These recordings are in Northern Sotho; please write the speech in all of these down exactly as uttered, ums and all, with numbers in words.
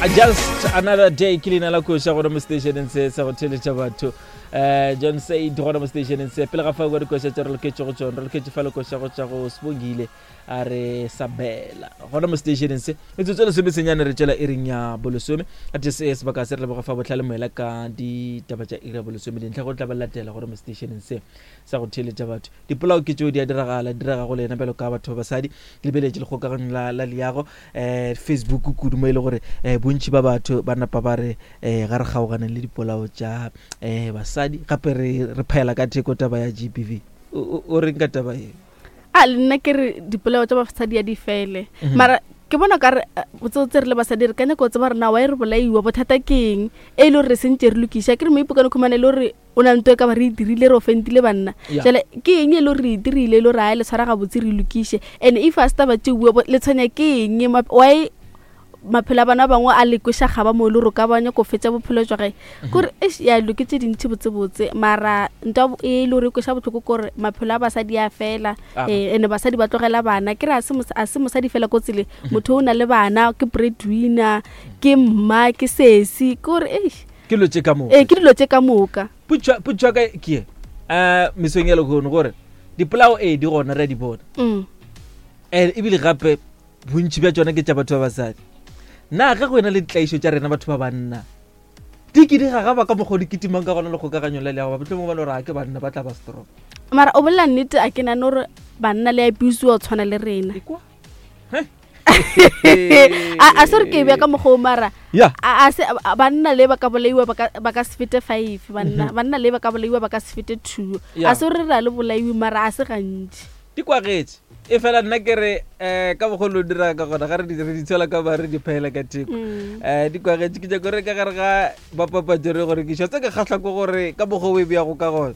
Just another day ke leina la koša gona mo stationeng se sa go theletša batho um John Said gona mo stationeng se. Pele ga fa kwa dikoša tše re loketše go tšona, re loketše fa lekoša go tša go Sebongile a re Sabela gona mo stationeng se. Metsotso e lesome senyane re tšela iring ya bolesome a te se sebaka se re leboga fa botlhale moela ka ditaba tša iri ya bolesome dintlha go tla ba latela gore mo stationeng se sa go theletša batho. Dipolao ke tšeo di a diragala, di direga go lena bjalo ka batho ba basadi. Ke lebeletše lekgokaganyo la, la leago um Facebook kudu mo e le gore um bontši ba batho ba napa ba re um ga re kgaoganeng le dipolao tša um basadi, gape re re phaela ka theko taba ya G B V. O, o, o reng ka taba e? A le nna ke re dipolao tša basadi ya di fele. Mhm. Mara ke bona ka re, eh, botsotsi re le basadi re ka nyaka go tseba gore na wa e re bolaiwa bothata ke eng e le gore re sentse re lokiša. Ke re mo ipokane khumane e le gore o na le ntho e ka ba re e dirile, re offendile banna. Ya. Jwale ke eng e le gore re e dirile e le gore a le tshwara gabotse re lokiše. And if a se taba tše bua, bo-, le tshwenya ke eng? Ma-, why maphelo a bana ba bangwe a le kweša kgaba mo e le gore o ka ba nyaka go fetša bophelo jwa gae? Mhm. Kore, eish, ya dilo ke tše dintši botsebotse, mara ntwa bo-, e le gore e kweša bohloko ke gore maphelo a basadi a fela, Aha. eh, and basadi ba tlogela bana. Ke re a se mos-, a se mosadi fela ko tseleng, Mhm. motho o na le bana, ke breadwinner, ke mma, ke sesi, ke gore, eish. Ke dilo tše ka moka. Eh, ke dilo tše ka moka. Potšo, potšo ya ka ke ye, eh, mesong ya lehono gore dipolao ee di gona, re a di bona. Mm. Eh, ebile gape bontši bja tšona ke tša batho ba basadi. Na ge go ena le ditlaišo tša rena batho ba banna, di ke di gagaba ka mokgwa o di kitimang ka gona lekgokaganyo la leago, ba mohlomongwe ba no re a ke banna ba tla ba strong. Mara o bolela nnete, a ke nahane gore banna le abusiwa go tshwana le rena. Ekwa? He? A, a se re ke e bea ka mokgwa o, mara Ya. a, a se, a, a, banna le ba ka bolaiwa ba ka, ba ka se fete five, banna, Mhm. banna le ba ka bolaiwa ba ka se fete two. Ya. A se re ra le bolaiwe, mara a se gantši. Di kwagetše. E fela nna ke re, eh, ka mokgwa o dira ka gona, ga re di, re di tswela ka ba re di phaela ka theko. Mm. Eh, di kwagetše, ke nyaka gore ka gare ga bapapatso re gore ke tse ke kgahlwa ke gore ka mokgwa o e beago ka gona.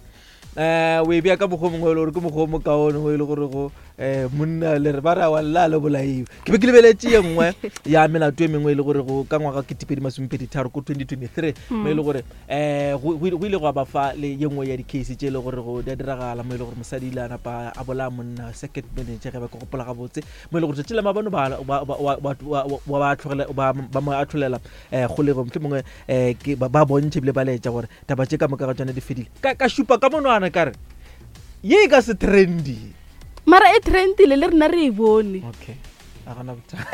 Eh, o e bea ka mokgwa o mongwe e le gore ke mokgwa o mokaone o e le gore go, eh, monna le re ba re aowa lla le bolaiwe. Ke be ke lebeletše ye nngwe ya melato e mengwe e le gore go ka ngwaga ketepedi masomepedi tharo ko twenty twenty-three, mo e le gore, eh, go, go, go ile gwa ba fa le ye nngwe ya di-case tše e le gore go di a diragala, mo e le gore mosadi ile a napa a bolaya monna second manager ge ba ke gopola gabotse, mo e le gore tšatši la maabane ba, ba, ba, ba, ba, ba, ba, ba tlogela, ba, ba mo ahlolela, eh, kgolegong. Mohlomongwe, eh, ke ba, ba bontšhe ebile ba laetša gore taba tše ka moka ga tšona di fedile. Ka, ka šupa ka monwana ka re ye e ka se trendy. Mara e trendile le rena re e bone. Okay. A gona bothata.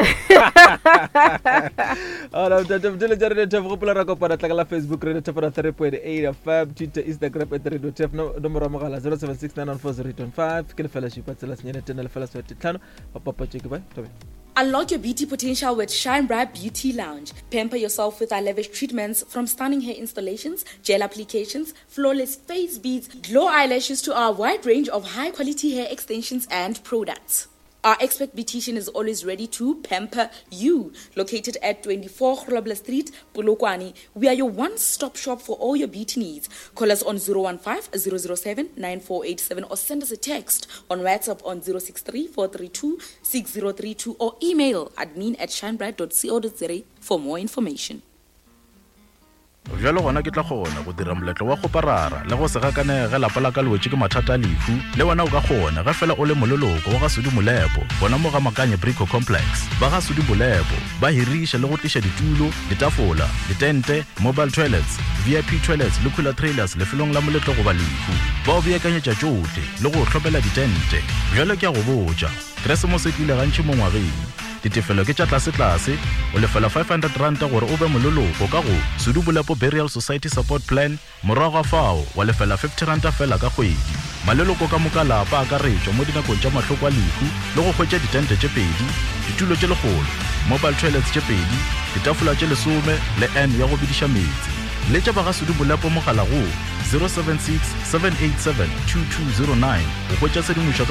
A gona bothata. Bothata tša Radio T F, gopola ra kopana tla ka la Facebook, Radio T F three point eight F M, Twitter, Instagram at Radio T F, no-, nomoro ya mogala zero seven six nine one four zero eight one five, ke lefela šupa tsela senyane tena lefela seswai tlhano. Bapapatšo ke bye, Thobela. Unlock your beauty potential with Shine Bright Beauty Lounge. Pamper yourself with our lavish treatments, from stunning hair installations, gel applications, flawless face beads, glow eyelashes to our wide range of high-quality hair extensions and products. Our expert beautician is always ready to pamper you. Located at twenty-four Grobler Street, Polokwane, we are your one-stop shop for all your beauty needs. Call us on zero one five, zero zero seven, nine four eight seven or send us a text on WhatsApp on zero six three, four three two, six zero three two or email admin at shinebright dot co dot za for more information. Bjalo gona ke tla kgona go dira moletlo wa go parara le go se gakanege ge lapa la ka le wetše ke mathata a lehu. Le wena o ka kgona ge fela o le moleloko wa ga Sudi Molepo, gona mo ga Makanye Brico Complex. Ba ga Sudi Molepo ba hiriša le go tliša ditulo, ditafola, ditente, mobile toilets, V I P toilets le cooler trailers lefelong la moletlo goba lehu. Ba o beakanyetša tšohle le go hlopela ditente. Bjalo ke a go botša, Keresemose e tlile gantši mo ngwageng. Ditefelo ke tša tlase-tlase, o lefela five hundred ranta gore o be moleloko ka go Sudi Molepo Burial Society Support Plan, morago ga fao wa lefela fifty ranta fela ka kgwedi. Maleloko ka moka lapa a akaretšwa mo dinakong tša mahloko a lehu le go hwetša ditente tše pedi, ditulo tše lekgolo, mobile toilets tše pedi, ditafola tše lesome le N ya go bediša meetse. Letša ba ga Sudi Molepo mogala go zero seven six, seven eight seven, two two zero nine go hwetša tshedimošo ka